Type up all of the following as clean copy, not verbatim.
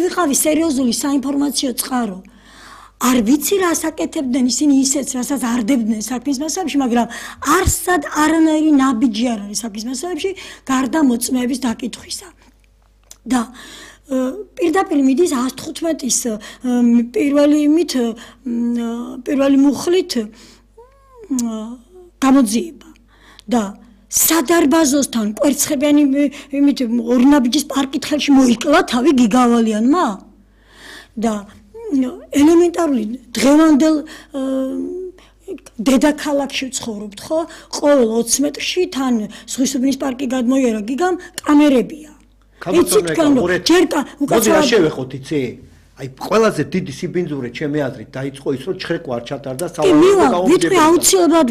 ვიყავი სერიოზული საინფორმაციო წყარო. არ ვიცი რას აკეთებდნენ ისინი ისეც, რასაც არდებდნენ საქმის მასალებში, მაგრამ არსად არანაირი ნაბიჯი არ არის საქმის მასალებში, გარდა მოწმეების დაკითხვისა. და პირდაპირ მიდის 115-ის პირველი მუხლით გამოძიება და სადარბაზოსთან კვერცხებიანი იმით ორნაბიჯის პარკითხელში მოიკლა თავი გიგავალიანმა და ელემენტარული დღევანდელ დედაქალაქში ვცხოვრობთ ხო? ყოველ 20 მეტრში თან ზღვისუბნის პარკი გადმოიარა გიგამ კამერებია. მოდი რა შევეხოთ იცი? აი ყველაზე დიდი სიბინძურე ჩემი აზრით დაიწყო ის რომ ჩხრეკვა არ ჩატარდა სავალდებულო.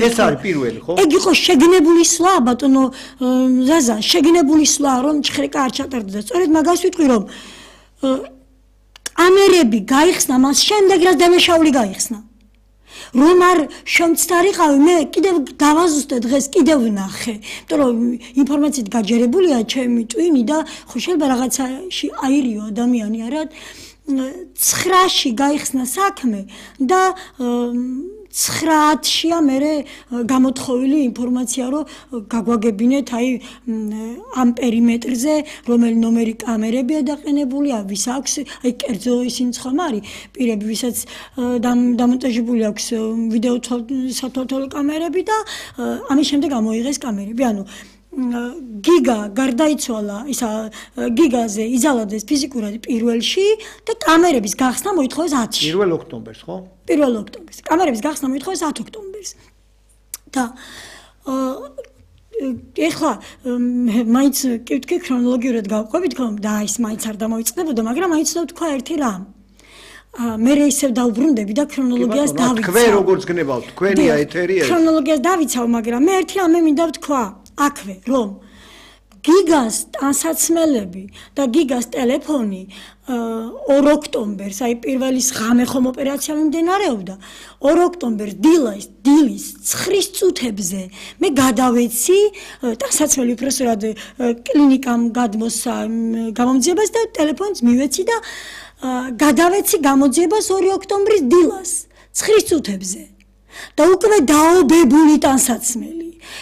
ეს არის პირველი ხო? ეგ იყო შეგინებული სვლა ბატონო ზაზა, შეგინებული სვლა რომ ჩხრეკა არ ჩატარდა და სწორედ მაგას ვიტყვი რომ კამერები გაიხსნა მას შემდეგ რაც დამეშაული გაიხსნა. რომ არ შემცდარიყავი მე კიდევ დავაზუსტე დღეს კიდევ ვნახე. იმიტომ რომ ინფორმაციით გაჯერებულია ჩემი ტვინი და ხო შეიძლება რაღაცაში აირიო ადამიანი არა 9-ში გაიხსნა საქმე და 9-შია მე გამოთხოვილი ინფორმაცია რომ გაგვაგებინეთ აი ამ პერიმეტრზე რომელი ნომერი კამერებია დაყენებულია ვის აქვს აი კერძო ისინი ხომ არის პირები ვისაც დამონტაჟებული აქვს ვიდეო სათვალთვალო კამერები და ამის შემდეგ ამოიღეს კამერები ანუ გიგა გარდაიცვალა ისა გიგაზე იზალადეს ფიზიკურად პირველში და კამერების გახსნა მოითხოვეს 10-ში 1 ოქტომბერს ხო? 1 ოქტომბერს კამერების გახსნა მოითხოვეს 10 ოქტომბერს და ეხლა მაინც კითხი ქრონოლოგიურად გავყვებით ხომ და ის მაინც არ დამოიწყდებოდა მაგრამ მაინც ვთქვა ერთი რამ მე ისევ დავბრუნდები და ქრონოლოგიას დავიცავ თქვენ როგორც გნებავთ თქვენია ეთერი ეს ქრონოლოგიას დავიცავ მაგრამ მე ერთი რამე მინდა ვთქვა აქვე რომ გიგას ტანსაცმელები და გიგას ტელეფონი 2 ოქტომბერს აი პირველის ღამე ხომ ოპერაცია მიმდინარეობდა 2 ოქტომბერს დილის 9 წუთებზე მე გადავეცი ტანსაცმელი უბრალოდ კლინიკამ გადმოსა გამომძიებას და ტელეფონს მივეცი და გადავეცი გამოძიებას 2 ოქტომბრის დილას 9 წუთებზე და უკვე დაობებული ტანსაცმელი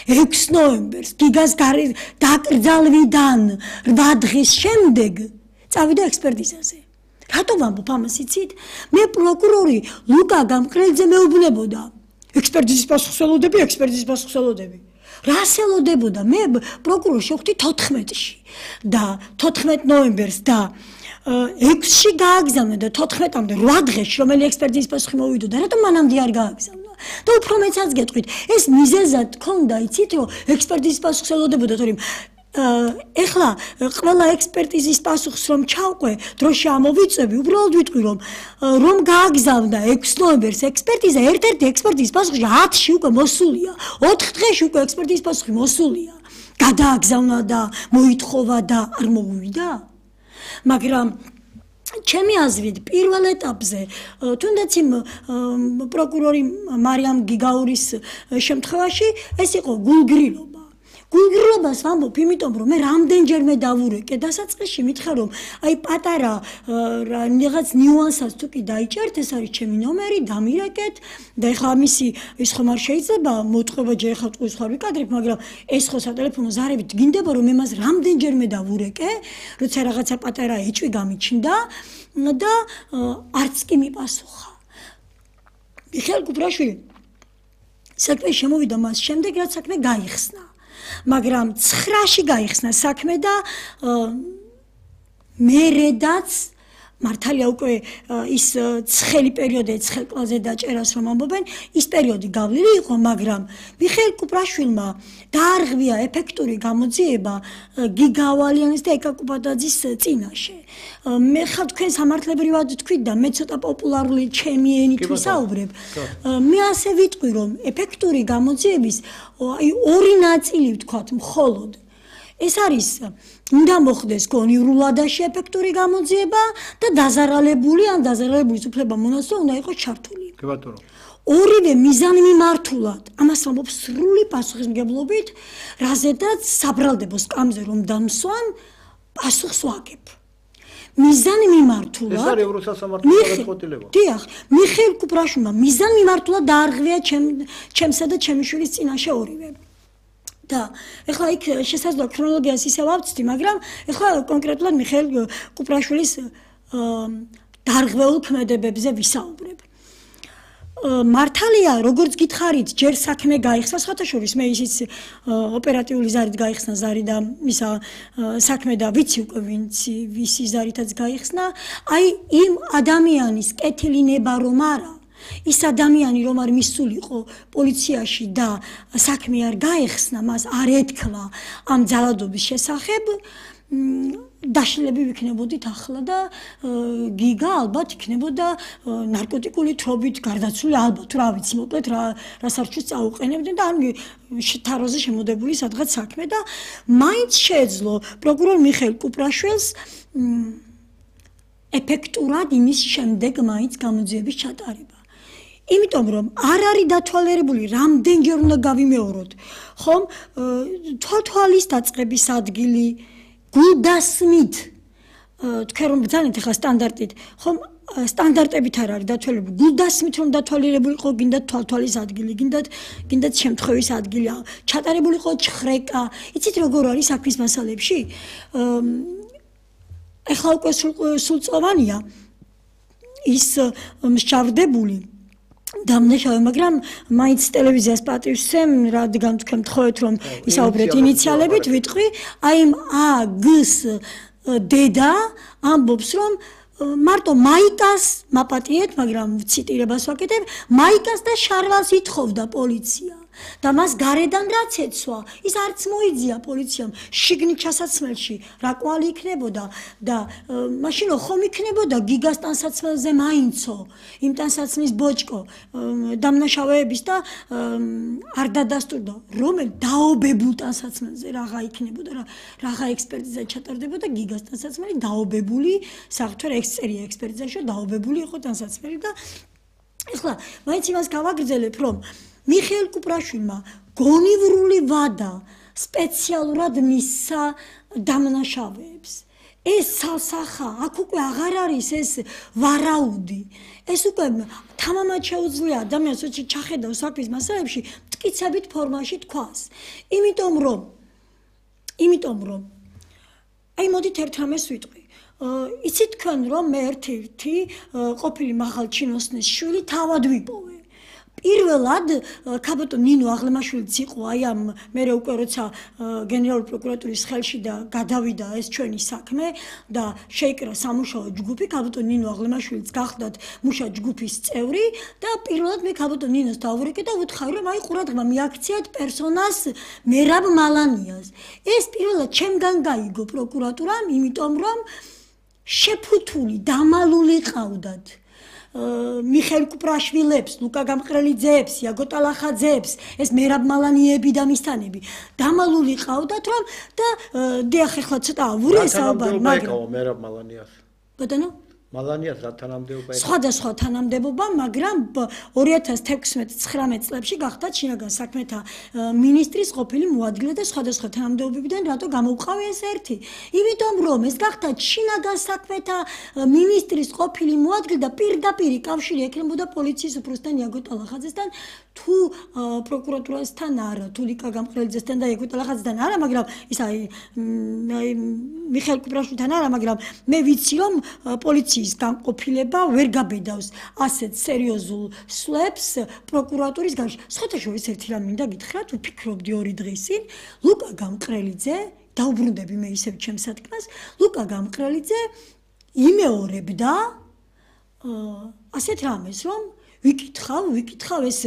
6 ნოემბერს გიგას დაკრძალვიდან 8 დღის შემდეგ წავიდა ექსპერტიზაზე. რატო ვამბობ ამას იცით? მე პროკურორი ლუკა გამყრელძე მეუბნებოდა. ექსპერტიზის პასუხსელოდები. რას ელოდებოდა? მე პროკურორს შევხვდი 14-ში და 14 ნოემბერს და 6-ში გააგზავნა და 14-მდე 8 დღეში რომელი ექსპერტიზის პასუხი მოვიდოდა, რატომ მანამდე არ გააგზავნა? და უფრო მეცაც გეტყვით, ეს მიზეზად ქონდა, იცით, რომ ექსპერტიზის პასუხს ელოდებოდა, თორემ ეხლა ყველა ექსპერტიზის პასუხს რომ ჩავყვე, დროში ამოვიწევი, უბრალოდ ვიტყვი რომ გააგზავნა 6 ნოემბერს ექსპერტიზა, ერთ-ერთი ექსპერტიზის პასუხი 10-ში უკვე მოსულია, 4 დღეში უკვე ექსპერტიზის პასუხი მოსულია. გადააგზავნა და მოითხოვა და არ მოუვიდა. მაგრამ ჩემი აზრით პირველ ეტაპზე თუნდაც იმ პროკურორი მარიამ გიგაურის შემთხვევაში ეს იყო გულგრილობას ვამბობ იმიტომ რომ მე რამდენჯერმე დავურეკე დასაწყისში მითხრა რომ აი პატარა რაღაც ნიუანსას თუ კი დაიჭერთ ეს არის ჩემი ნომერი დამირეკეთ და ეხლა ამისი ის ხომ არ შეიძლება მოტყობა ჯერ ეხლა ტყუის ხარ ვიკადრებ მაგრამ ეს ხო სატელეფონო ზარებით გინდება რომ მე მას რამდენჯერმე დავურეკე როცა რაღაცა პატარა ეჭვი გამიჩნდა და არც კი მიპასუხა მიხეილ კუპრაშვილი საქმე შემოვიდა მას შემდეგ რაც საქმე გაიხსნა მაგრამ 9-ში გაიხსნა საქმე და მერედაც მართალია უკვე ის ცხელი პერიოდი ცხელკლაზე დაჭერას რომ ამბობენ ის პერიოდი გავლილი იყო მაგრამ მიხეილ კუპრაშვილმა დაარღვია ეფექტური გამოძიება გიგავალიანის და ეკა კუპადაძის წინაშე მე ხარ თქვენ სამართლებრივად თქვით და მე ცოტა პოპულარული ჩემი ენით ვისაუბრებ მე ასე ვიტყვი რომ ეფექტური გამოძიების აი ორი ნაწილი ვთქვათ მხოლოდ ეს არის უნდა მოხდეს კონიურულადაში ეფექტური გამოძიება და დაზარალებული ან დაზარალებულის უფლება მონაცვლე უნდა იყოს ჩართული. კი ბატონო. ორივე მიზანმიმართულად ამას ამბობს სრული პასუხისმგებლობით, რაზედაც საბრალდებო სკამზე რომ დამსვან პასუხს ვაგებ. მიზანი მიმართულად ეს არის ევროსასამართლოს გადაწყვეტილება. დიახ, მიხეილ კუპრაშვილმა მიზანი მიმართულად დაარღვია ჩემსა და ჩემი შვილის წინაშე ორივე. და ეხლა იქ შესაძლოა ქრონოლოგიას ისევ ავწვდი, მაგრამ ეხლა კონკრეტულად მიხეილ კუპრაშვილის დარღვეულ ქმედებებზე ვისაუბრებ. მართალია, როგორც გითხარით, ჯერ საქმე გაიხსნა, სხვათაშორის მე ისიც ოპერატიული ზარით გაიხსნა ზარი და ისა საქმე და ვიცი უკვე ვისი ზარითაც გაიხსნა, აი იმ ადამიანის კეთილინება რომ არა, ის ადამიანი რომ არ მისულიყო პოლიციაში და საქმე არ გაეხსნა, მას არ ეთქვა ამ ძალადობის შესახებ, დაშლები ვიქნებოდით ახლა და გიგა ალბათ იქნებოდა ნარკოტიკული თრობით გარდაცვლილი, ალბათ რა ვიცი, მოკლედ რა სარჩოს წაუყენებდნენ და ან თაროზე შემოდებული სადღაც საქმე და მაინც შეეძლო პროკურორ მიხეილ კუპრაშვილს ეფექტურად იმის შემდეგ მაინც გამოძიების ჩატარება. იმიტომ რომ არ არის დათვალიერებული, რამდენჯერ უნდა გავიმეოროთ, ხომ, თვალთვალის დაწყების ადგილი გულდასმით თქვენ რომ ბრძანეთ ახლა სტანდარტით, ხომ სტანდარტებით არ არის დათვალიერებული, გულდასმით რომ დათვალიერებული იყო, გინდათ თვალთვალის ადგილი, გინდათ შემთხვევის ადგილი, ჩატარებული იყო ჩხრეკა, იცით როგორ არის საქმის მასალებში? ეხლა უკვე სულწლოვანია ის მსჯავრდებული დამნაშავე, მაგრამ მაინც ტელევიზიას პატივსცემ, რადგან თქვენ მთხოვეთ რომ ისაუბრეთ ინიციალებით, ვიტყვი, აი A-G-S დედა ამბობს რომ მარტო მაიკას მაპატიეთ, მაგრამ ციტირებას ვაკეთებ, მაიკას და შარვალს ითხოვდა პოლიცია. და მას გარედან რაც ეცვა, ის არც მოიძია პოლიციამ შიგნით ჩასაცმელში რა კვალი იქნებოდა და მაშინ ხომ იქნებოდა გიგას ტანსაცმელზე მაინცო იმ ტანსაცმლის ბოჭკო დამნაშავეების და არ დადასტურდა რომელ დაობებულ ტანსაცმელზე რაღა იქნებოდა რაღა ექსპერტიზა ჩატარდებოდა გიგას ტანსაცმელი დაობებული საერთოდ ექსწერია ექსპერტიზაში დაობებული იყო ტანსაცმელი და ეხლა მაინც იმას გავაგრძელებ რომ მიხეილ კუპრაშვილმა გონივრული ვადა სპეციალურად მისცა დამნაშავეებს. ეს სალსახა, აქ უკვე აღარ არის ეს ვარაუდი. ეს უკვე თამამად შეუძლია ადამიანს ჩახედავს საქმის მასალებში მტკიცებით ფორმაში თქვას. იმიტომ რომ აი მოდით ერთ რამეს ვიტყვი. იცით თქვენ რომ მე ერთ-ერთი ყოფილი მაღალ ჩინოსნის შვილი თავად ვიპოვე. პირველად ქაბატონ ნინო აღლემაშვილიც იყო აი ამ მე უკვე როცა გენერალური პროკურატურის ხელში და გადავიდა ეს ჩვენი საქმე და შეიკრა სამუშაო ჯგუფი ქაბატონ ნინო აღლემაშვილიც გახდათ მუშა ჯგუფის წევრი და პირველად მე ქაბატონ ნინოს დავვრეკე და ვუთხარი რომ აი ყურადღება მიაქციათ პერსონას მერაბ მალანიას ეს პირველად ჩემგან გაიგო პროკურატურამ იმიტომ რომ შეფუთული დამალული ყავდათ მიხეილ კუპრაშვილებს, ლუკა გამყრელიძეებს, იაგო ტალახაძეებს, ეს მერაბ მალანიები და მისთანები დამალული ყავდათ რომ და დიახ ახლა ცოტა ვური საუბარი მაგრამ მერაბ მალანიას ბატონო მალანიას რა თანამდებობა იყო? სხვადასხვა თანამდებობა, მაგრამ 2016-19 წლებში გახდა შინაგან საქმეთა მინისტრის ყოფილი მოადგილე და სხვადასხვა თანამდებობებიდან რატო გამოვყავი ეს ერთი? იმიტომ რომ ეს გახდა შინაგან საქმეთა მინისტრის ყოფილი მოადგილე და პირდაპირი კავშირი ექნებოდა პოლიციის უფროსთან იაგო ტალახაძესთან თუ პროკურატურასთან არა, თუ ლიკა გამყრელიძესთან და იაგო ტალახაძესთან არა, მაგრამ ის აი მიხეილ კუპრაშვილთან არა, მაგრამ მე ვიცი რომ პოლიციის განყოფილება ვერ გაბედავს ასეთ სერიოზულ სვლებს პროკურატურის გარშემო. სხვათაშორის ერთი რამ მინდა გითხრათ, ვფიქრობდი 2 დღის წინ, ლუკა გამყრელიძე, დაუბრუნდები მე ისევ ჩემს სათქმას, ლუკა გამყრელიძე იმეორებდა ასეთ რამეს, რომ ვიკითხავ ეს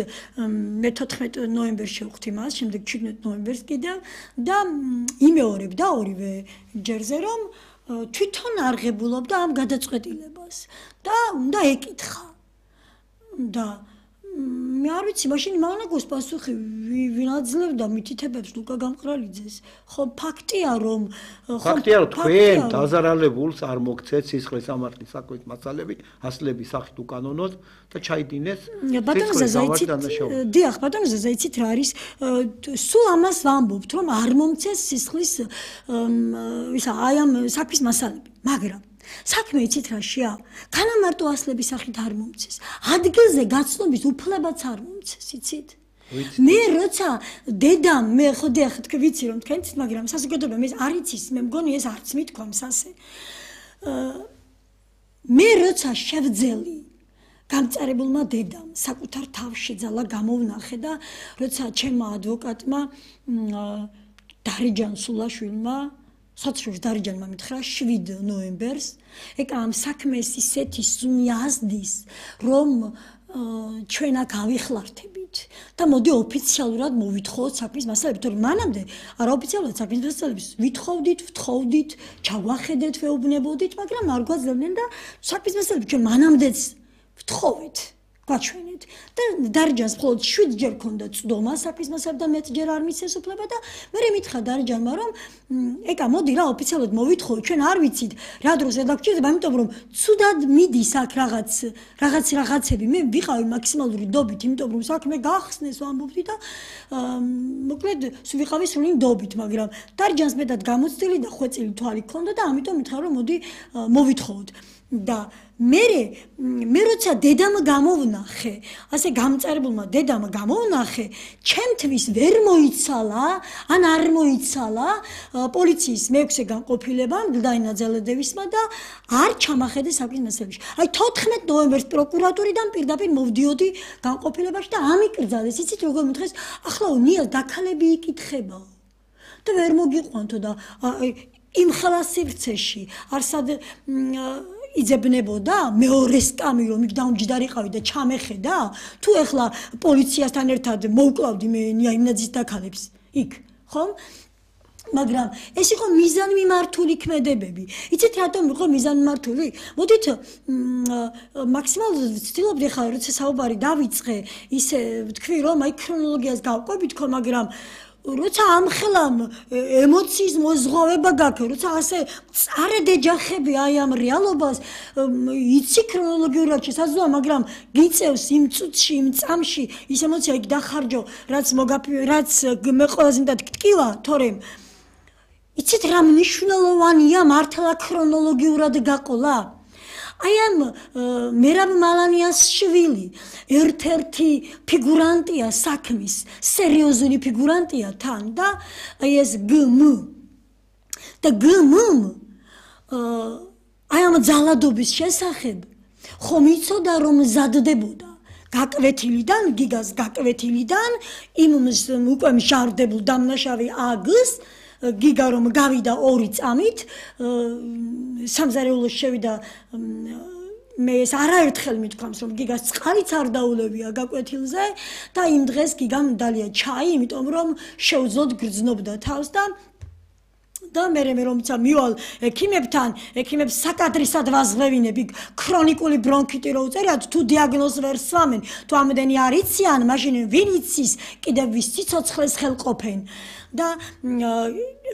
მე 14 ნოემბერს შევხვდი მას, შემდეგ 17 ნოემბერს კიდევ და იმეორებდა ორივე ჯერზე რომ თვითონ არღებულობდა ამ გადაწყვეტილებას და უნდა ეკითხა და მე არ ვიცი მაშინ მანაგოს პასუხი ვინ აძლევდა მითითებებს ლუკა გამყრელიძეს ხო ფაქტია რომ თქვენ დაზარალებულს არ მოგცეთ სისხლის სამართლის საქმის მასალები ასლების სახით უკანონოდ და ჩაიდინეს ბატონო ზაზაიცით დიახ ბატონო ზაზაიცით რა არის სულ ამას ვამბობთ რომ არ მომცეს სისხლის ისა აი ამ საქმის მასალები მაგრამ საქმე იცით რაშია? განა მარტო ასლების სახით არ მომცეს. ადგილზე გაცნობის უფლებაც არ მომცეს, იცით? მე როცა დედამ მე ხოდი ახლა თქვი ვიცი რომ თქვენც მაგრამ საზოგადოება მე არ იცის მე მგონი ეს არც მithქვამს ასე მე როცა შევძელი გამწარებულმა დედამ საკუთარ თავში ძალა გამოვნახე და როცა ჩემმა ადვოკატმა დარიჯან სულაშვილმა სოციალურ დარიჯანმა მითხრა 7 ნოემბერს ეკა ამ საქმეს ისეთი სუნი ასდის რომ ჩვენ აქ ავიხლართებით და მოდი ოფიციალურად მოვითხოვოთ საქმის მასალები თორემ მანამდე არაოფიციალურად საქმის მასალებს ვითხოვდით, ვთხოვდით, ჩავახედეთ, ვეუბნებოდით, მაგრამ არ გვაძლევდნენ და საქმის მასალები ჩვენ მანამდეც ვთხოვეთ, გვაჩვენეთ და დარიჯანს მხოლოდ 7 ჯერ ქონდა წდომა საქმის მასალები და მეტჯერ არ მისცეს უფლება და მე მითხრა დარიჯანმა რომ ეკა მოდი რა ოფიციალურად მოვითხოვოთ ჩვენ არ ვიცით რა დროს ედაგჭირდება იმიტომ რომ ცუდად მიდის აქ რაღაცები მე ვიყავი მაქსიმალური დობით იმიტომ რომ საქმე გახსნეს ვამბობდი და მოკლედ ვიყავი სრული დობით მაგრამ დარიჯანს მეტად გამოცდილი და ხვეწილი თვალი ქონდა და ამიტომ მითხრა რომ მოდი მოვითხოვოთ და მე როცა დედამ გამოვნახე, ასე გამწარებულმა დედამ გამოვნახე, ჩემთვის ვერ მოიცალა, ან არ მოიცალა პოლიციის მეექვსე განყოფილებამ დაინაძალედევისმა და არ ჩამახედე საქმის მასალებში. აი 14 ნოემბერს პროკურატურიდან პირდაპირ მოვდიოდი განყოფილებაში და ამიკრძალეს, იცით როგორ მითხეს, ახლა ნიელ დაქალები იკითხებაო. და ვერ მოგიყვანთო და იმ ხელა სივრცეში არსად იძებნებოდა მეორე სკამი რომ იქ დაუმჯდარიყავი და ჩამეხედა თუ ეხლა პოლიციასთან ერთად მოვკლავდი მე იმნაძის დაქალებს იქ ხომ მაგრამ ეს იყო მიზანმიმართული ქმედებები იცით რატომ იყო მიზანმიმართული მოდით მაქსიმალურად ვცდილობდი ხა როცა საუბარი დავიწყე ისე ვთქვი რომ აი ქრონოლოგიას გავყვებით ხო მაგრამ როცა ამხელამ ემოციის მოზღვავება გაქვს, როცა ასე წარედეგახები აი ამ რეალობას იცი ქრონოლოგიურად შესაძლოა, მაგრამ გიწევს იმ წუთში, იმ წამში ის ემოცია იქ დახარჯო, რაც მე ყველაზე მეტად გტკივა, თორემ იცით რა მნიშვნელოვანია მართლა ქრონოლოგიურად გაყოლა? აი ამ მერაბ მალანიას შვილი ერთ-ერთი ფიგურანტია საქმის, სერიოზული ფიგურანტია თან და აი ეს გმ და გმ აი ამ ძალადობის შესახებ ხომ იცოდა რომ მზადდებოდა გაკვეთილიდან, გიგას გაკვეთილიდან იმ უკვე მშარდებულ დამნაშავე აგს გიგა რომ გავიდა 2 წამით სამზარეულოს შევიდა მე ეს არაერთხელ მithქვამს რომ გიგას წყალიც არ დაულებია გაკვეთილზე და იმ დღეს გიგამ დალია ჩაი იმიტომ რომ შეუძლოდ გრძნობდა თავს და მე რომცა მივალ ექიმებთან ექიმებს საკადრისად ვაზღვევინები ქრონიკული ბრონქიტი რო უწერიათ თუ დიაგნოზს ვერ სვამენ თუ ამდენი არ იციან მაშინ ვინ იცის კიდევ ვის სიცოცხლეს ხელყოფენ და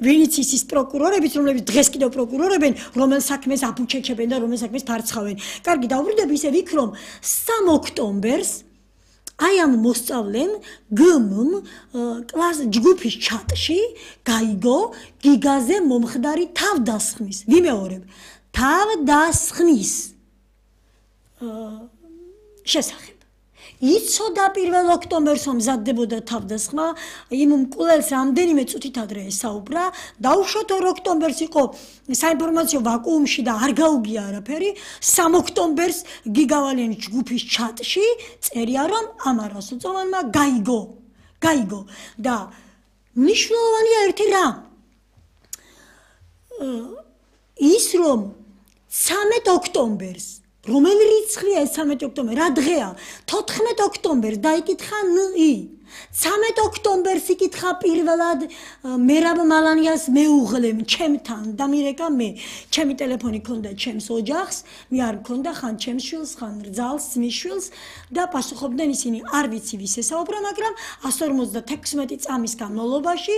ვინიც ის პროკურორებიც რომლებიც დღეს კიდევ პროკურორებენ რომელ საქმეს აფუჩეჩებენ და რომელ საქმეს ფარცხავენ კარგი დაუბრუნდები ისე ვიქრომ 3 ოქტომბერს აი ამ მოსწავლემ გმ კლას ჯგუფის ჩატში გაიგო გიგაზე მომხდარი თავდასხმის ვიმეორებ თავდასხმის შესახებ იცოდა 1 ოქტომბერს რომ მზადდებოდა თავდასხმა იმ მკვლელს რამდენიმე წუთით ადრე ესაუბრა დაუშვათ 2 ოქტომბერს იყო საინფორმაციო ვაკუუმში და არ გაუგია არაფერი 3 ოქტომბერს გიგავალიანის ჯგუფის ჩატში წერია რომ ამარას უწოვანმა გაიგო და მნიშვნელოვანია ერთი რა ის რომ 13 ოქტომბერს რომელი რიცხვია ეს 13 ოქტომბერი? რა დღეა? 14 ოქტომბერს დაიკითხა ნი. 13 ოქტომბერს იკითხა პირველად მერაბ მალანიას მეუღლემ ჩემთან და მირეკა მე. ჩემი ტელეფონი ქონდა ჩემს ოჯახს, მე არ მქონდა ხან ჩემს შვილს, ხან რძალს, მის შვილს და პასუხობდნენ ისინი არ ვიცი ვის ესაუბრა, მაგრამ 156 წამის განმავლობაში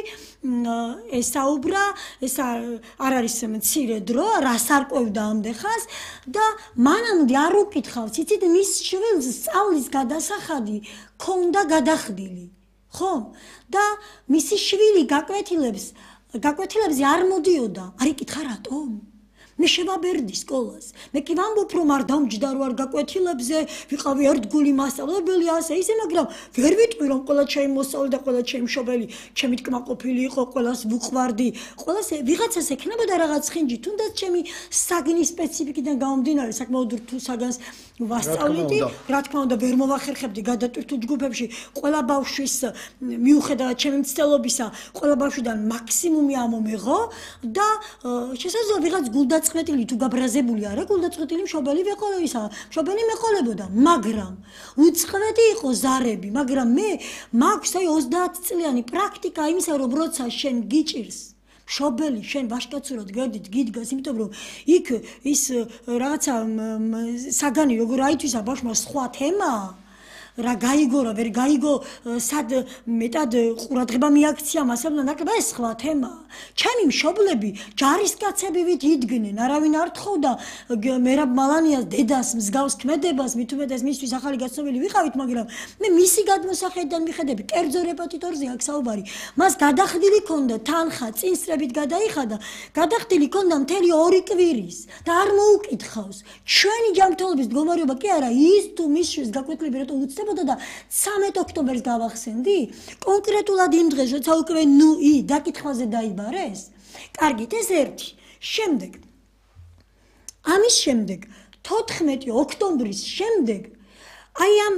ესაუბრა, ეს არ არის მცირე დრო, რას არკვევდა ამდეხას და მანამდე არ უკითხავს, იცით მის შვილს სწავლის გადასახადი ქონდა გადახდილი, ხო? და მისი შვილი გაკვეთილებზე არ მოდიოდა, არ იკითხა რატომ? მე შევაბერდი სკოლას. მე კი ვამბობ, რომ არ დამჯდა, რომ არ გაკვეთილებზე ვიყავი ერთგული მასწავლებელი ასე ისე, მაგრამ ვერ ვიტყვი, რომ ყველა ჩემი მოსწავლე და ყველა ჩემი მშობელი ჩემი კმაყოფილი იყო, ყველას ვუყვარდი. ყველას ვიღაცას ექნებოდა რაღაც ხინჯი, თუნდაც ჩემი საგნის სპეციფიკიდან გამომდინარე, საკმაოდ რთულ საგანს ვასწავლედი. რა თქმა უნდა, ვერ მოვახერხებდი გადატვირთულ ჯგუფებში. ყველა ბავშვის მიუხედავად ჩემი მცდელობისა, ყველა ბავშვიდან მაქსიმუმი ამომეღო და შესაძლოა ვიღაც გულდაწყვეტილი თუ გაბრაზებული არა, გულდაწყვეტილი მშობელი ვეყოლა ისა, მშობელი მეყოლებოდა, მაგრამ უწყვეტი იყო ზარები, მაგრამ მე მაქვს აი 30 წლიანი პრაქტიკა იმისა, რომ როცა შენ გიჭირს მშობელი შენ ვაშკაცურად გერდით გიდგას, იმიტომ რომ იქ ის რაღაცა საგანი როგორ აითვისა ბავშვმა სხვა თემაა. რა გაიგო რა ვერ გაიგო სად მეტად ყურადღება მიაქცია მასალა ნაკლება ეს სხვა თემაა. ჩემი მშობლები ჯარისკაცები ვით იდგნენ, არავინ არ თხოვდა მერაბ მალანიას დედას მსგავს ქმედებას, მით უმეტეს მისთვის ახალი გაცნობილი ვიყავით, მაგრამ მე მისი გადმოსახედიდან მიხედები, კერძო რეპეტიტორზე აქ საუბარი. მას გადახდილი ქონდა თანხა, წინსრებით გადაიხადა, გადახდილი ქონდა მთელი 2 კვირის და არ მოუკითხავს. ჩვენი ჯანმრთელობის მდგომარეობა კი არა, ის თუ მის შვილს გაკვეთილები რატო უცდება და 13 ოქტომბერს გავახსენდი? კონკრეტულად იმ დღეს, როცა უკვე დაკითხვაზე დაიბარეს? კარგით, ეს ერთი. შემდეგ. ამის შემდეგ, 14 ოქტომბრის შემდეგ, აი ამ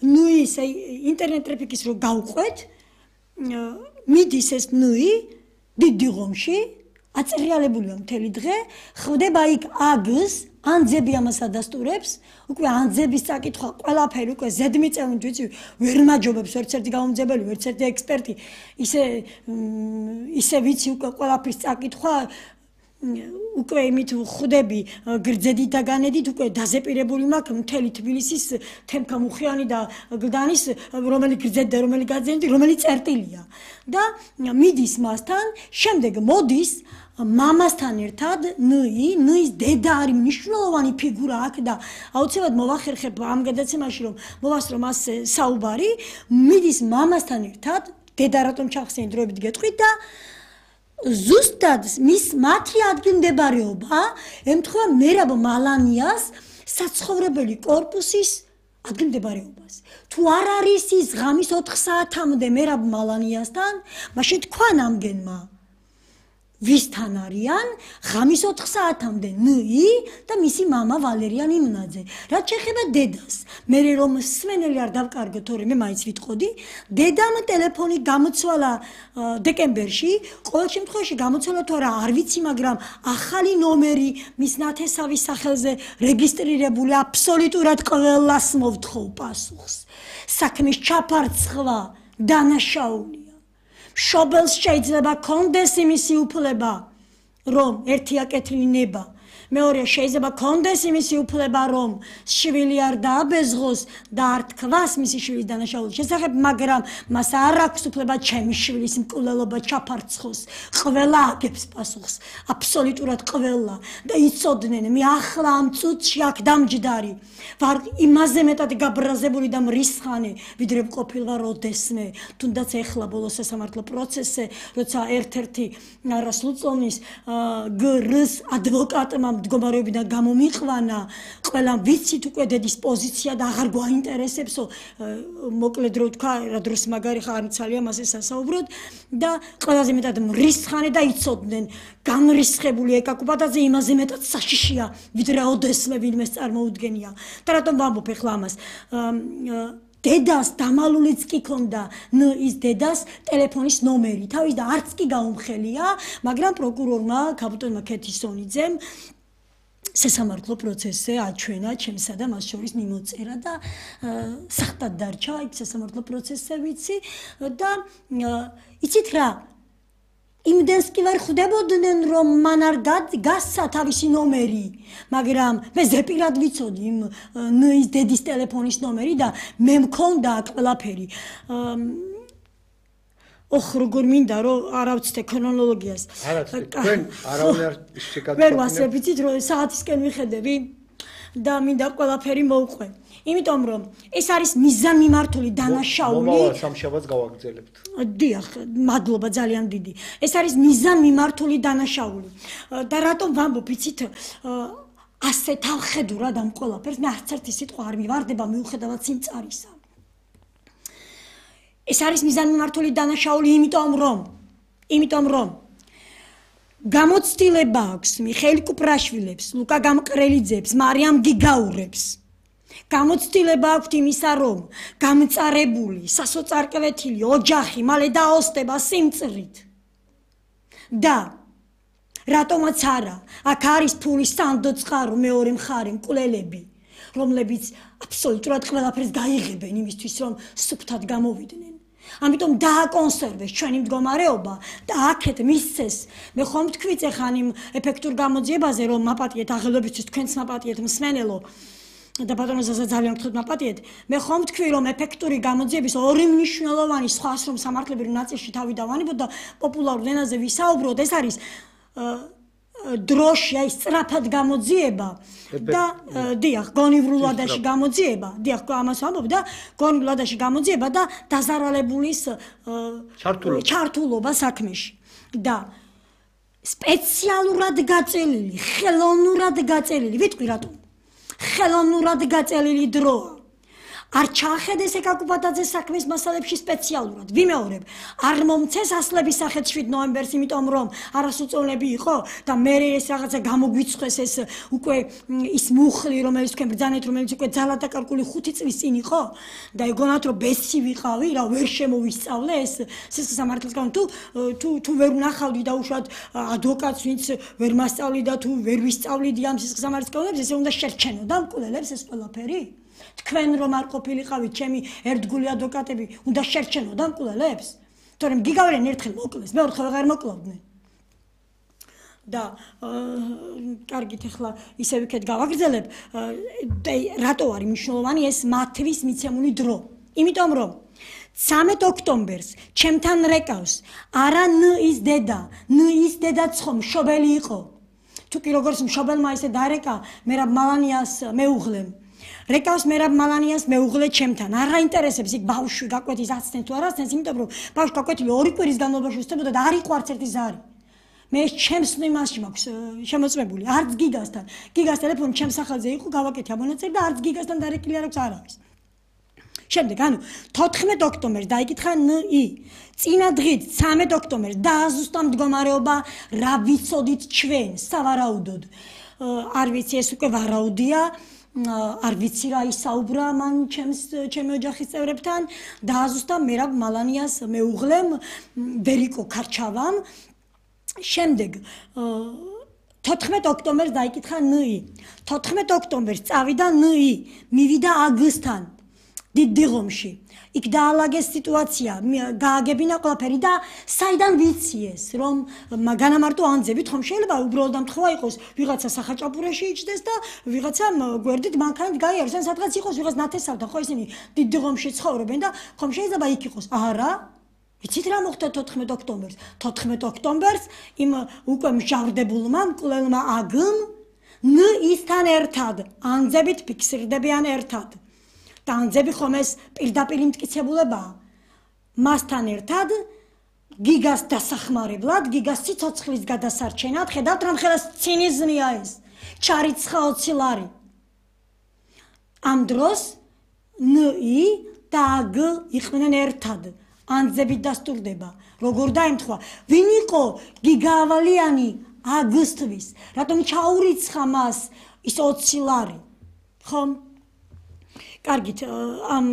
ნუის ინტერნეტ ტრაფიკის რო გავყვეთ, მიდის ეს ნუი დიდი ღომში, აწერიალებულია მთელი დღე, ხდება იქ აგს, ანძები ამას ადასტურებს, უკვე ანძების წაკითხვა, ყველაფერი უკვე ზედმიწევნით ვიცი, ვერ მაჯობებს ვერც ერთი გამომძებელი, ვერც ერთი ექსპერტი, ისე ვიცი უკვე ყველაფრის წაკითხვა, უკვე იმით ხვდები გრძედით და განედით, უკვე დაზეპირებული მაქვს მთელი თბილისის თემქა მუხიანი და გდანის, რომელი გრძედი და რომელი გაძენდი, რომელი წერტილია. და მიდის მასთან, შემდეგ მოდის მამასთან ერთად ნუის დედა არის მნიშვნელოვანი ფიგურა აქ და აუცილებლად მოვახერხებ ამ გადაცემაში, რომ მოვასწრო მას საუბარი, მიდის მამასთან ერთად, დედა რატომ ჩახსენით დროებით გეტყვით და ზუსტად მათი ადგილმდებარეობა ემთხვევა მერაბ მალანიას საცხოვრებელი კორპუსის ადგილმდებარეობას. თუ არ არის ის ღამის 4 საათამდე მერაბ მალანიასთან, მაშინ თქვა ნამგენმა ვისთან არიან ღამის 4 საათამდე ნი და მისი მამა ვალერიან იმნაძე. რაც შეეხება დედას, მე რომ სმენელი არ დავკარგო, თორემ მე მაინც ვიტყოდი, დედამ ტელეფონი გამოცვალა დეკემბერში, ყოველ შემთხვევაში გამოცვალა თუ არა არ ვიცი, მაგრამ ახალი ნომერი მის ნათესავის სახელზე რეგისტრირებული, აბსოლუტურად ყველას მოვთხოვ პასუხს. საქმის ჩაფარცხვა დანაშაულია. მშობელს შეიძლება კონდეს იმისი უფლება, რომ ერთი აკეთილი ნება, მეორე შეიძლება კონდეს იმისი უფლება, რომ შვილი არ დააბეზღოს და არ თქვას მისი შვილის დანაშაულის შესახებ, მაგრამ მას არ აქვს უფლება ჩემი შვილის მკვლელობა ჩაფარცხოს. ყველა აგებს პასუხს, აბსოლუტურად ყველა და იცოდნენ, მე ახლა ამ წუთში აქ დამჯდარი ვარ იმაზე მეტად გაბრაზებული და მრისხანე, ვიდრე მყოფილვარ ოდესმე, თუნდაც ეხლა ბოლო სასამართლო პროცესზე, როცა ერთ-ერთი არასრულწლოვნის გრს ადვოკატმა მდგომარეობიდან გამომიყვანა, ყველა ვიცით უკვე დედის პოზიცია და აღარ გვაინტერესებსო, მოკლედ რო თქვა, რა დროს მაგარი ხარ მცალია მასე სასაუბროდ და ყველაზე მეტად მრისხანე და იცოდნენ, გამრისხებული ეკაკუბატაძე იმაზე მეტად საშიშია, ვიდრე ოდესმე ვინმეს წარმოუდგენია. და რატომ ვამბობ ეხლა ამას? დედას დამალულიც კი ქონდა ის დედას ტელეფონის ნომერი თავის და არც კი გაუმხელია, მაგრამ პროკურორმა კაპიტონმა ქეთისონიძემ სასამართლო პროცესზე აჩვენა ჩემსა და მას შორის მიმოწერა და სახტად დარჩა იქ სასამართლო პროცესზე ვიცი და იცით რა იმდენს კი ვერ ხვდებოდნენ, რომ მან არ გასცა თავისი ნომერი, მაგრამ მე ზეპირად ვიცოდი იმ ის დედის ტელეფონის ნომერი და მე მქონდა აქ ყველაფერი. როგორ მინდა რომ არ ავწდე ქრონოლოგიას. არა, თქვენ არავინ არ შეგაგებინებთ. ვერ ვასწრებიცით რომ საათისკენ ვიხედები. და მინდა ყველაფერი მოვყვე. იმიტომ რომ ეს არის მიზანმიმართული დანაშაული. მომავალ სამშაბათს გავაგრძელებთ. დიახ, მადლობა ძალიან დიდი. ეს არის მიზანმიმართული დანაშაული. და რატომ ვამბობ, იცით, ასე თავხედურად ამ ყველაფერს მე არც ერთი სიტყვა არ მივარდება მიუხედავად სიმწარისა. ეს არის მიზანმიმართული დანაშაული, იმიტომ რომ გამოცდილება აქვს მიხეილ კუპრაშვილებს, ლუკა გამყრელიძეებს, მარიამ გიგაურებს. გამოცდილება აქვს იმისა, რომ გამწარებული, სასოწარკვეთილი ოჯახი მალე დაოსტება სიმწრით. და რატომაც არა, აქ არის ფულის სანდო წყარო მეორე მხარე მკვლელები, რომლებიც აბსოლუტურად ყველაფერს გაიღებენ იმისთვის, რომ სუფთად გამოვიდნენ. ამიტომ დააკონსერვეს ჩვენი მდგომარეობა და აქეთ მისცეს. მე ხომ თქვით ეხან იმ ეფექტურ გამოძიებაზე, რომ მაპატიეთ აღელვებისთვის თქვენც მაპატიეთ მსმენელო და ბატონოსაც ძალიან გთხოვთ მაპატიეთ. მე ხომ თქვი რომ ეფექტური გამოძიების ორი მნიშვნელოვანი სხვა რომ სამართლებრივ ნაწილში თავი დავანებოთ და პოპულარულ ენაზე ვისაუბროთ, ეს არის დროში, აი სწრაფად გამოძიება და დიახ, გონივრულადაში გამოძიება, დიახ, ამას ვამბობ და გონივრულადაში გამოძიება და დაზარალებულის ჩართულობა საქმეში. და სპეციალურად გაწელილი, ხელოვნურად გაწელილი, ვიტყვი რატომ? ხელოვნურად გაწელილი დროა. არ ჩაახედეს ეკაკუბატაძეს საქმის მასალებში სპეციალურად. ვიმეორებ, არ მომცეს ასლების სახეთ 7 ნოემბერს, იმიტომ რომ არასუწოვნლები იყო და მე ეს რაღაცა გამოგვიცხეს ეს უკვე ის მუხლი, რომელიც თქვენ ბრძანეთ, რომელიც უკვე ძალადაკარგული 5 წლის წინ იყო და ეგონათ რომ ბესი ვიყავი, რა ვერ შემოვისწავლე ეს სისხლის სამართლის კანონი თუ ვერ ვნახავდი და უშუალოდ ადვოკატს ვინც ვერ მასწავლი და თუ ვერ ვისწავლიდი ამ სისხლის სამართლის კანონებს, ესე უნდა შერჩენოდა მკვლელებს ეს ყველაფერი? თქვენ რომ არ ყოფილიყავით ჩემი ერთგული ადვოკატები, უნდა შერჩენოდა მკვლელებს? თორემ გიგავრენ ერთხელ მოკლეს, მეორე ვეღარ მოკლავდნენ. და კარგით, ახლა ისევ იქეთ გავაგრძელებ, რატო არის მნიშვნელოვანი ეს მათვის მიცემული დრო? იმიტომ რომ 13 ოქტომბერს ჩემთან რეკავს არა ნის დედა, ნის დედაც ხომ მშობელი იყო. თუკი როგორც მშობელმა ისე დარეკა მერაბ მალანიას მეუღლემ. რეკავს მერაბ მალანიას მეუღლე ჩემთან. არ აინტერესებს იქ ბავშვი გაკვეთის აცნეს თუ არ აცნეს, იმიტომ რომ ბავშვი გაკვეთილი 2 კვირის განმავლობაში უსწრებოდა და არ იყო არც ერთი ზარი. მე ჩემს იმაში მაქვს შემოწმებული, არც გიგასთან. გიგას ტელეფონი ჩემს სახელზე იყო, გავაკეთე ამონაწილე და არც გიგასთან დარეკილი არ აქვს არავის. შემდეგ, 14 ოქტომბერს დაიკითხა ნი. წინა დღით 13 ოქტომბერს დააზუსტა მდგომარეობა, რა ვიცოდით ჩვენ, სავარაუდოდ. არ ვიცი, ეს უკვე ვარაუდია. არ ვიცი რა ისაუბრა მან ჩემი ოჯახის წევრებთან, დააზუსტა მერაბ მალანიას მეუღლემ ბერიკო ქარჩავამ. შემდეგ 14 ოქტომბერს დაიკითხა ნი. 14 ოქტომბერს წავიდა ნი, მივიდა აგსთან დიდიღომში. იქ დაალაგეს სიტუაცია, გააგებინა ყველაფერი და საიდან ვიცი ეს, რომ განამარტო ანძებით ხომ შეიძლება უბრალოდ ამთხოვა იყოს, ვიღაცა სახაჭაპურაში იჭდეს და ვიღაცა გვერდით მანქანით გაიაროს, ან სადღაც იყოს ვიღაც ნათესავთან, ხო ისინი დიდიღომში ცხოვრობენ და ხომ შეიძლება იქ იყოს. არა? ვიცით რა მოხდა 14 ოქტომბერს? 14 ოქტომბერს იმ უკვე მჟავრდებულმა მკვლელმა აგმ ისთან ერთად ანძებით ფიქსირდებიან ერთად. და ანძები ხომ ეს პირდაპირ იმტკიცებულებაა. მასთან ერთად გიგას დასახმარებლად, გიგას სიცოცხლის გადასარჩენად, ხედავთ რამხელა ცინიზმია ეს. ჩარიცხა 20 ლარი. ამ დროს ნი და აგ იყვნენ ერთად. ანძებით დასტურდება. როგორ დაემთხვა? ვინ იყო გიგა ავალიანი აგსთვის? რატომ ჩაურიცხა მას ის 20 ლარი? ხომ? კარგით, ამ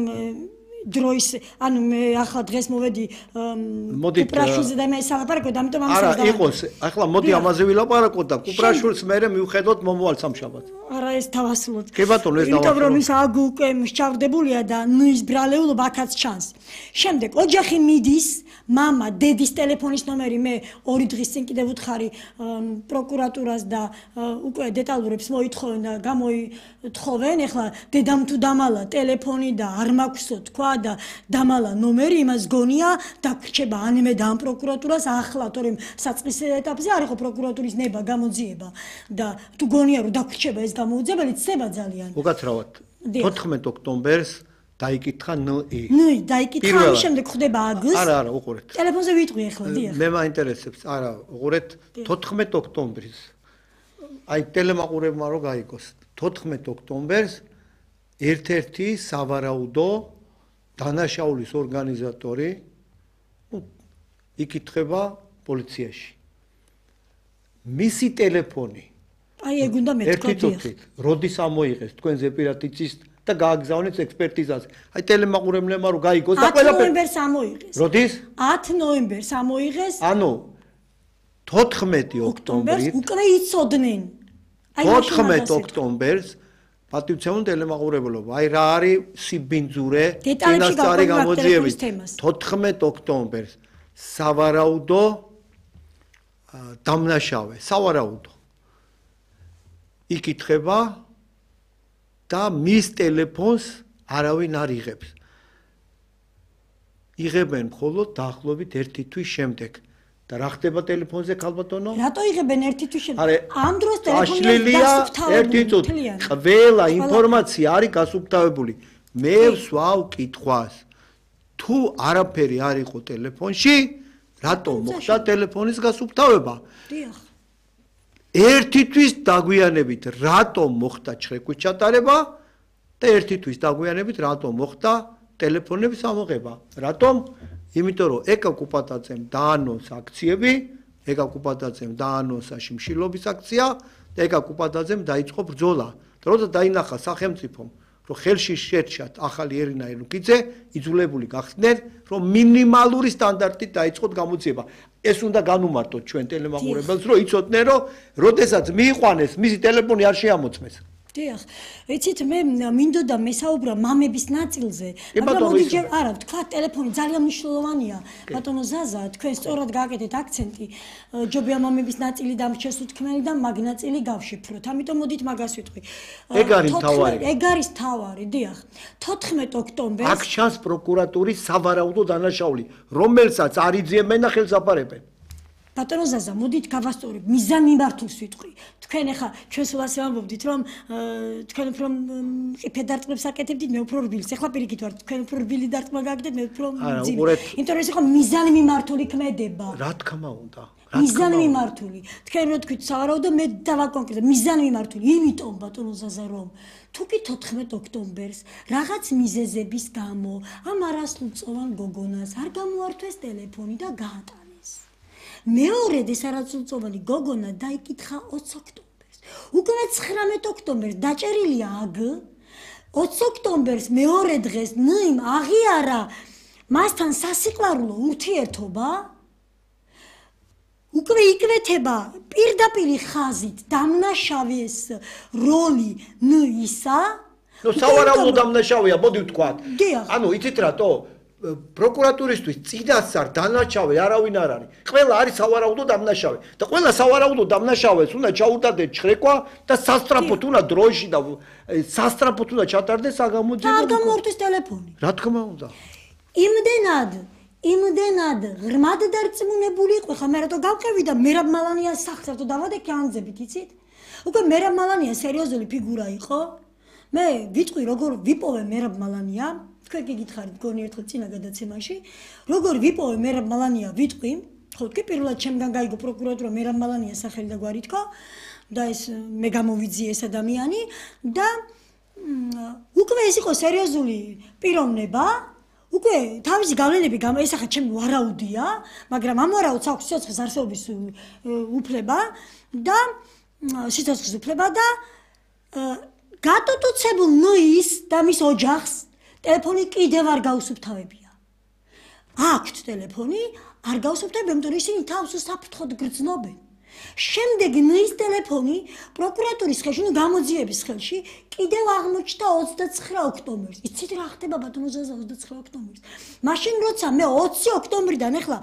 დროის, ანუ მე ახლა დღეს მოვედი კუპრაშვილზე და მე სალაპარაკოდ, ამიტომ ამას არა, იყოს, ახლა მოდი ამაზე ვილაპარაკოთ და კუპრაშვილს მერე მივხედოთ მომავალ სამშაბათს. არა, ეს დავასრულოთ. კი ბატონო, ეს დავასრულოთ. იმიტომ რომ ის აგ უკვე მსჭავრდებულია და ნის ბრალეულობა აქაც ჩანს. შემდეგ ოჯახი მიდის, მამა, დედის ტელეფონის ნომერი მე 2 დღის წინ კიდევ უთხარი პროკურატურას და უკვე დეტალურებს მოითხოვენ და გამოითხოვენ. ეხლა დედამ თუ დამალა ტელეფონი და არ მაქვსო თქვა თქვა და დამალა ნომერი იმას გონია დაგრჩება ანიმე და ამ პროკურატურას ახლა თორემ საწყის ეტაპზე არ იყო პროკურატურის ნება გამოძიება და თუ გონია რომ დაგრჩება ეს გამოუძებელი ცდება ძალიან უკაცრავად 14 ოქტომბერს დაიკითხა ნი დაიკითხა ამის შემდეგ ხდება აგს არა უყურეთ ტელეფონზე ვიტყვი ახლა დიახ მე მაინტერესებს არა უყურეთ 14 ოქტომბრის აი ტელემაყურებმა რო გაიგოს 14 ოქტომბერს ერთ-ერთი სავარაუდო დანაშაულის ორგანიზატორი იკითხება პოლიციაში მისი ტელეფონი აი ეგ უნდა მეთქვა დიახ როდის ამოიღეს თქვენ ზეპირად იცის და გააგზავნეთ ექსპერტიზაზე აი ტელემაყურებლებმა რო გაიგოს და ყველაფერი 10 ნოემბერს ამოიღეს როდის 10 ნოემბერს ამოიღეს ანუ 14 ოქტომბერს უკვე იცოდნენ 14 ოქტომბერს პატივცემულ ტელემაყურებლობა აი რა არის სიბინძურე წინასწარი გამოძიების 14 ოქტომბერს სავარაუდო დამნაშავე სავარაუდო იკითხება და მის ტელეფონს არავინ არ იღებს იღებენ მხოლოდ დაახლოებით 1 თვის შემდეგ და რა ხდება ტელეფონზე ქალბატონო? რატო იღებენ 1 თვის შემდეგ? ამ დროს ტელეფონი დასუფთავებული. ყველა ინფორმაცია არის გასუფთავებული. მე ვსვავ კითხვას. თუ არაფერი არ იყო ტელეფონში, რატო მოხდა ტელეფონის გასუფთავება? დიახ. 1 თვის დაგვიანებით რატო მოხდა ჩხეკვით ჩატარება და 1 თვის დაგვიანებით რატო მოხდა ტელეფონების ამოღება? რატომ? იმიტომ რომ ეკა კუპატაძემ დაანონსა აქციები, ეკა კუპატაძემ დაანონსა შიმშილობის აქცია და ეკა კუპატაძემ დაიწყო ბრძოლა. და როცა დაინახა სახელმწიფომ, რომ ხელში შეერჩათ ახალი ერინა ელუკიძე, იძულებული გახდნენ, რომ მინიმალური სტანდარტით დაიწყოთ გამოძიება. ეს უნდა განუმარტოთ ჩვენ ტელემაყურებელს, რომ იცოდნენ, რომ როდესაც მიიყვანეს, მისი ტელეფონი არ შეამოწმეს. დიახ, იცით მე მინდოდა მესაუბრა მამების ნაწილზე, მაგრამ მოდი ჯერ არა, თქვა ტელეფონი ძალიან მნიშვნელოვანია. ბატონო ზაზა, თქვენ სწორად გააკეთეთ აქცენტი, ჯობია მამების ნაწილი დამრჩეს უთქმელი და მაგ ნაწილი გავშიფროთ. ამიტომ მოდით მაგას ვიტყვი. ეგ არის თავარი. ეგ არის თავარი, დიახ. 14 ოქტომბერს აქ ჩანს პროკურატურის სავარაუდო დანაშაული, რომელსაც არ იძიებენ და ხელს აფარებენ. ბატონო ზაზა, მოდით გავასწორებ, მიზან მიმართულს ვიტყვი. თქვენ ახლა ჩვენ სულ ასე ვამბობდით, რომ თქვენ უფრო ყიფე დარტყმებს აკეთებდით, მე უფრო რბილს. ახლა პირიქით ვარ, თქვენ უფრო რბილი დარტყმა გააკეთეთ, მე უფრო მძიმე. იმიტომ რომ ეს იყო მიზანი მიმართული ქმედება. რა თქმა უნდა. მიზანი მიმართული. თქვენ რო თქვით სავარაუდო, მე დავაკონკრეტებ, მიზანი მიმართული. იმიტომ ბატონო ზაზა, რომ თუ კი 14 ოქტომბერს რაღაც მიზეზების გამო ამ არასრულწლოვან გოგონას არ გამოართვეს ტელეფონი და გაატარა. მეორედ ეს არასრულწლოვანი გოგონა დაიკითხა 20 ოქტომბერს. უკვე 19 ოქტომბერს დაჭერილია აგ. 20 ოქტომბერს მეორე დღეს ნიმ აღიარა მასთან სასიყვარულო ურთიერთობა. უკვე იკვეთება პირდაპირი ხაზით დამნაშავის როლი ნისა. ნუ სავარაუდო დამნაშავეა, მოდი ვთქვათ. ანუ იცით რატო? პროკურატურისთვის წინასწარ დანაშავე არავინ არ არის. ყველა არის სავარაუდო დამნაშავე და ყველა სავარაუდო დამნაშავეს უნდა ჩაუტარდეს ჩხრეკვა და სასტრაფოდ უნდა დროში და სასტრაფოდ უნდა ჩატარდეს საგამოძიებო. და გამორთვის ტელეფონი. რა თქმა უნდა. იმდენად ღრმად დარწმუნებული იყო, ხა მე რატო გავყევი და მერაბ მალანიას სახს რატო დავადექი ანძებით, იცით? უკვე მერაბ მალანია სერიოზული ფიგურა იყო. მე ვიტყვი როგორ ვიპოვე მერაბ მალანია. თქვენ გიგითხარით გონი ერთხელ წინა გადაცემაში, როგორ ვიპოვე მერაბ მალანია ვიტყვი, ხო თქვი პირველად ჩემგან გაიგო პროკურატურა მერაბ მალანიას სახელი და გვარი თქვა და ეს მე გამოვიძიე ეს ადამიანი და უკვე ეს იყო სერიოზული პიროვნება, უკვე თავისი გავლენები ესახა ჩემი ვარაუდია, მაგრამ ამ ვარაუდს აქვს სიცოცხლის არსებობის უფლება და სიცოცხლის უფლება და გატოტუცებულ ნოის და მის ოჯახს ტელეფონი კიდევ არ გაუსუფთავებია. აქვთ ტელეფონი, არ გაუსუფთავებია, იმიტომ რომ ისინი თავს საფრთხოდ გრძნობენ. შემდეგ ნოის ტელეფონი პროკურატურის ხელში, გამოძიების ხელში კიდევ აღმოჩნდა 29 ოქტომბერს. იცით რა ხდება ბატონო ზაზა 29 ოქტომბერს? მაშინ როცა მე 20 ოქტომბრიდან ახლა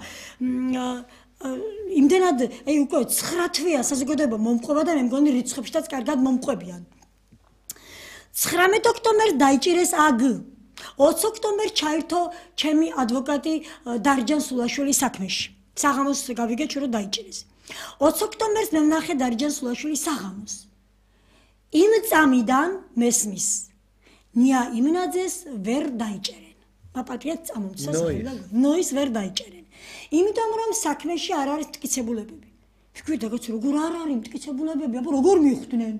იმდენად უკვე 9 თვეა საზოგადოება მომყვება და მე მგონი რიცხვებშიც კარგად მომყვებიან. 19 ოქტომბერს დაიჭირეს აგ. 20 ოქტომბერს ჩაერთო ჩემი ადვოკატი დარჯან სულაშვილის საქმეში. საღამოს გავიგეთ რომ დაიჭირეს. 20 ოქტომბერს მე ვნახე დარჯან სულაშვილის საღამოს. იმ წამიდან მესმის. ნია იმნაძეს ვერ დაიჭერენ. პაპატრიაც წამომცა სახელდა. ნოის ვერ დაიჭერენ. იმიტომ რომ საქმეში არ არის მტკიცებულებები. ვიქვი დაგაც როგორ არ არის მტკიცებულებები, აბა როგორ მიხვდნენ?